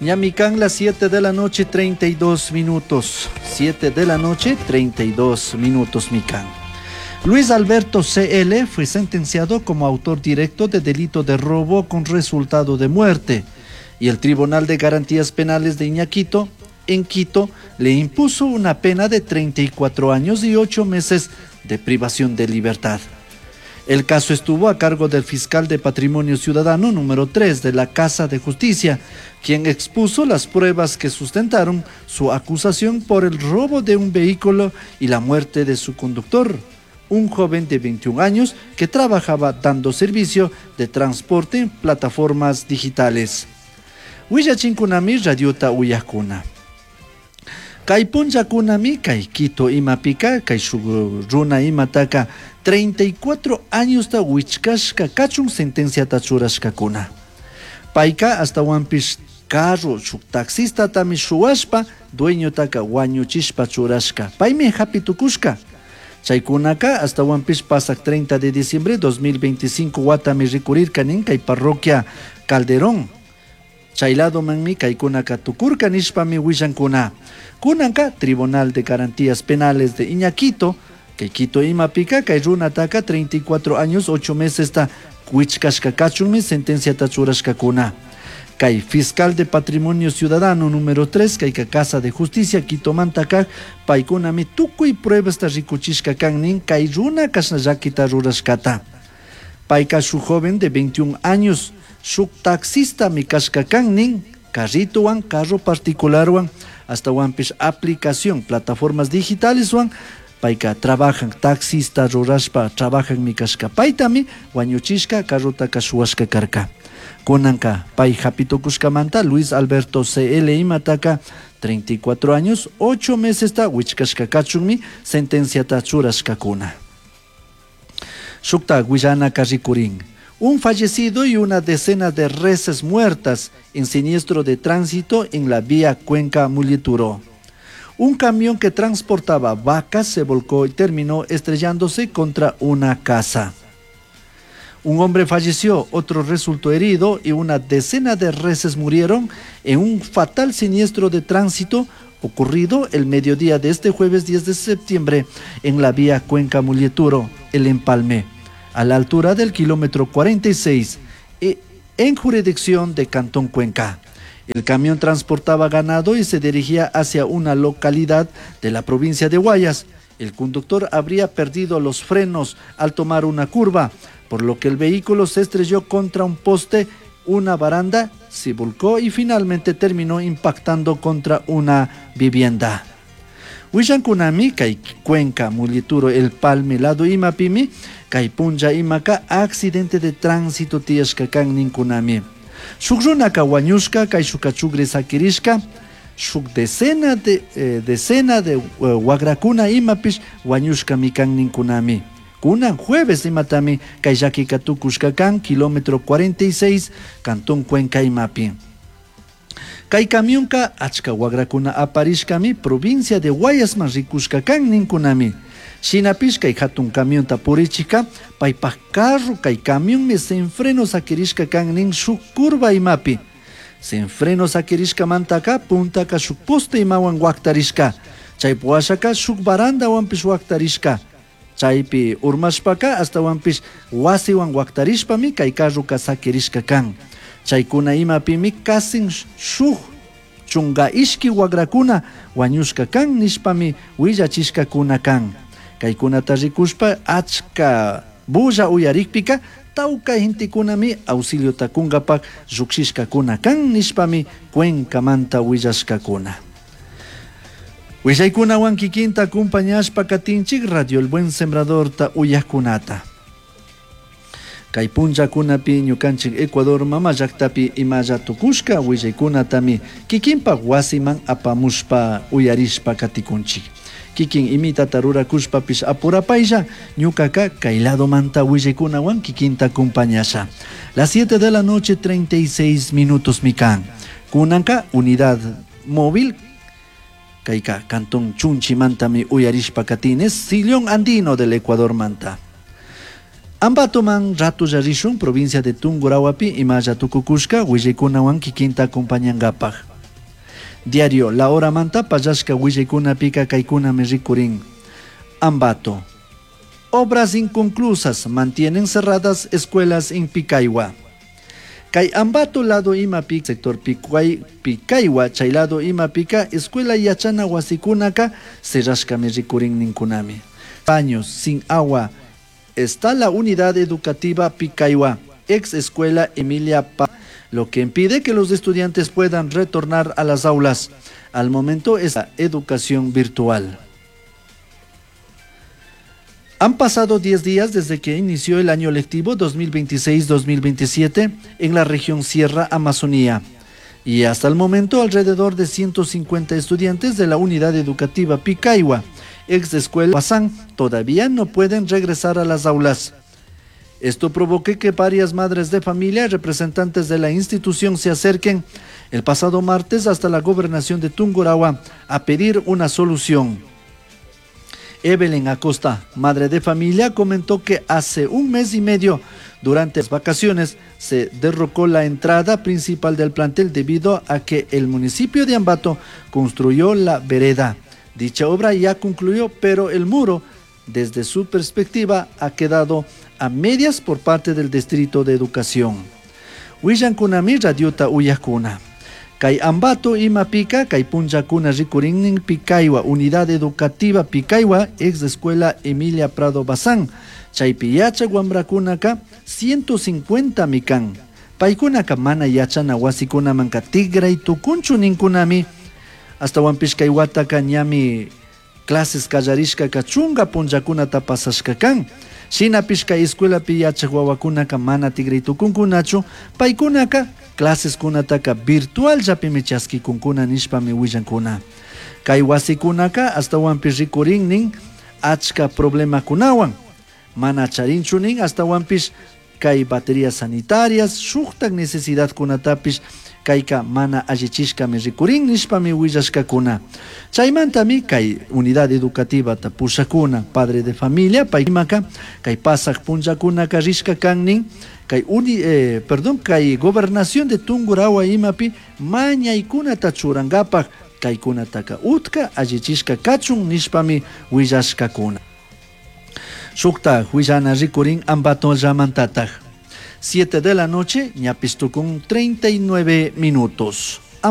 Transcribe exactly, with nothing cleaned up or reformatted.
Ñami kan las siete de la noche treinta y dos minutos. siete de la noche treinta y dos minutos mikan. Luis Alberto C L fue sentenciado como autor directo de delito de robo con resultado de muerte y el Tribunal de Garantías Penales de Iñaquito, en Quito, le impuso una pena de treinta y cuatro años y ocho meses de privación de libertad. El caso estuvo a cargo del fiscal de Patrimonio Ciudadano número tres de la Casa de Justicia, quien expuso las pruebas que sustentaron su acusación por el robo de un vehículo y la muerte de su conductor, un joven de veintiún años que trabajaba dando servicio de transporte en plataformas digitales. Willachinkunami radiota uyajkuna. Kay punllakunami kay Quito imapika kay shuk runa imataka treinta y cuatro añosta wichkashka kachun sentenciata churashkakuna. Payka ashtawanpish carro shuk taxistatami shuwashpa dueñotaka wañuchishpa churashka. Paymi hapi tukushka. Chaykunaka ashtawanpish pasak treinta de diciembre dos mil veinticinco watami rikurirka nin kay parroquia Calderón. Chay ladomanmi kaykunaka tukurka nishpami willankuna. Kunanka Tribunal de Garantías Penales de Iñaquito, kay Quito imapika kay runataka treinta y cuatro años ocho mesesta wichkashka kachunmi sentenciata churashkakuna. Kay fiscal de Patrimonio Ciudadano número tres, kayka Casa de Justicia Quitomanta kak, paykunami tukuy pruebasta rikuchishka kan nin kay runa kashna llakita rurashkata. Payka shuk joven de veintiún años, shuk taxistami kashka kan nin, carritowan, carro particularwan, ashtawanpish aplicación, plataformas digitaleswan, payka trabajan, taxista rurashpa trabajanmi kashka. Paytami wañuchishka carrotaka shuwashka karka. Kunanka pay hapi tukushkamanta Luis Alberto C L imataka treinta y cuatro años ocho mesesta wichkashka kachunmi sentenciata churashkakuna. Shukta willanaka rikurin. Un fallecido y una decena de reses muertas en siniestro de tránsito en la vía Cuenca Molleturo. Un camión que transportaba vacas se volcó y terminó estrellándose contra una casa. Un hombre falleció, otro resultó herido y una decena de reses murieron en un fatal siniestro de tránsito ocurrido el mediodía de este jueves diez de septiembre en la vía Cuenca Molleturo, El Empalme, a la altura del kilómetro cuarenta y seis, e, en jurisdicción de Cantón Cuenca. El camión transportaba ganado y se dirigía hacia una localidad de la provincia de Guayas. El conductor habría perdido los frenos al tomar una curva, por lo que el vehículo se estrelló contra un poste, una baranda, se volcó y finalmente terminó impactando contra una vivienda. Willankunami kay Cuenca Molleturo El Palme lado imapimi kay punlla imaka accidente de tránsito tiyashka kan ninkunami. Shuk runaka wañushka, kayshuka chugri sakirishka, shuk decena de, eh, decena de uh, wagrakuna imapish wañushkami kan ninkunami. Kunan jueves imatami kay llakika tukushka kan kilómetro cuarenta y seis Cantón Cuenca imapi. Kay camionka achka wagrakuna aparishkami provincia de Guayasman rikushka kan ninkunami. Shinapish kay hatun camionta purichika paypaj carro kay camionmi sin freno sakirishka kan nin shuk curva imapi. Sin freno sakirishkamantaka puntaka shuk poste imawan waktarishka. Chay washaka shuk barandawanpish waktarishka. Chaypi urmashpaka ashtawanpish wasiwan waktarishpami kay carroka sakirishka kan. Chaykuna imapimi kasin shuk chunga ishki wagrakuna wañushka kan nishpami willachishkakuna kan. Kaykunata rikushpa achka bulla uyarikpika tawka gentekunami auxiliota kunkapak llukshishkakuna kan nishpami Cuencamanta willashkakuna. Willaykunawan kikinta acompañashpa katinchik Radio El Buen Sembradorta uyajkunata. Kay punllakunapi ñukanchik Ecuador mama llaktapi imalla tukushka willaykunatami kikinpak wasiman apamushpa uyarishpa katikunchik. Kikin imitata rurakushpapish apurapaylla ñukaka kay ladomanta willaykunawan kikinta acompañasha. Las siete de la noche treinta y seis minutos mikan. Kunanka unidad móvil kayka Cantón Chunchimantami uyarishpa katines Sillón Andino del Ecuador manta. Ambatoman ratu rishun provincia de Tungurahuapi imalla tukukushka willaykunawan kikinta acompañankapaj. Diario La Hora manta pallashka willaykunapika kaykunami rikurin. Ambato. Obras inconclusas mantienen cerradas escuelas en Picaiwa. Kay Ambato lado imapi sector Picuay, Picaiwa chay lado imapika escuela yachana wasikunaka cerrashkami rikurin ninkunami. Años sin agua está la unidad educativa Picaiwa, ex escuela Emilia Pa, lo que impide que los estudiantes puedan retornar a las aulas. Al momento es la educación virtual. Han pasado diez días desde que inició el año lectivo dos mil veintiséis dos mil veintisiete en la región Sierra Amazonía. Y hasta el momento alrededor de ciento cincuenta estudiantes de la unidad educativa Picaiwa, ex escuela Bazán, todavía no pueden regresar a las aulas. Esto provocó que varias madres de familia y representantes de la institución se acerquen el pasado martes hasta la gobernación de Tungurahua a pedir una solución. Evelyn Acosta, madre de familia, comentó que hace un mes y medio, durante las vacaciones, se derrocó la entrada principal del plantel debido a que el municipio de Ambato construyó la vereda. Dicha obra ya concluyó, pero el muro, desde su perspectiva, ha quedado a medias por parte del Distrito de Educación. Willankunami radiota uyakuna. Kay Ambato imapika, kay punllakuna rikurinnin Picaiwa, Unidad Educativa Picaiwa, ex Escuela Emilia Prado Bazán. Chaypi yachak wamrakunaka ciento cincuenta mikan. Paykunaka mana yachana wasikunamanka tigray tukunchu ninkunami. Hasta kay wataka ñami clases kallarishkaka chunga punllakunata pasashka kan. Shinapish kay escuelapi yachak wawakunaka mana tigray tukunkunachu, paykunaka clases kunataka virtual llapimi chaskikunkuna nishpami willankuna. Kay wasikunaka astawanpish rikurinnin achka problemakunawan. Mana charinchu nin astawanpish kay baterías sanitarias, shuktak necesidad kunatapish kayka mana allichishkami rikurin nishpami willashkakuna. Chaymantami kay unidad educativa pushakuna, padre de familia, paymaka, kay pasaq punllakunaka rishka kannin, kay uni, eh, perdón, kay gobernación de Tungurahua imapi mañaykunata churangapak kaykunataka utka allichishka kachun nishpami willashkakuna. Shukta huillana rikurin Ambato llamantataj. Siete de la noche, ñapistucun treinta y nueve minutos.